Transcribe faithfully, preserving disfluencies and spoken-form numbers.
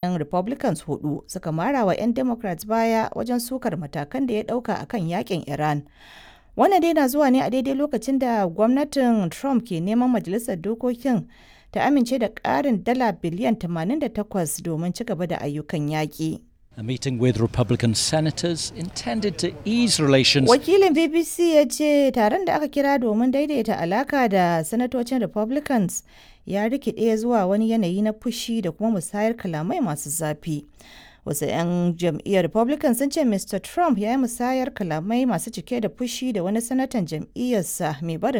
'Yan Republicans hudu suka mara wa 'yan Democrats baya wajen sukar matakan da ya dauka a kan yakin Iran. Wannan dai na zuwa ne a daidai lokacin da gwamnatin Trump ke neman Majalisar Dokokin ta amince da ƙarin dala biliyan tamanin da takwas domin ci gaba da ayyukan yaƙi. A meeting with Republican senators intended to ease relations. Wakilin B B C ya ce taron da aka kira domin daidaita alaka da sanatocin Republicans ya rikide zuwa wani yanayi na fushi da kuma musayar kalamai masu zafi. Wasu 'yan jam'iyyar Republican sun ce Mister Trump ya yi musayar kalamai masu cike da fushi da wani sanatan jam'iyyarsa mai barin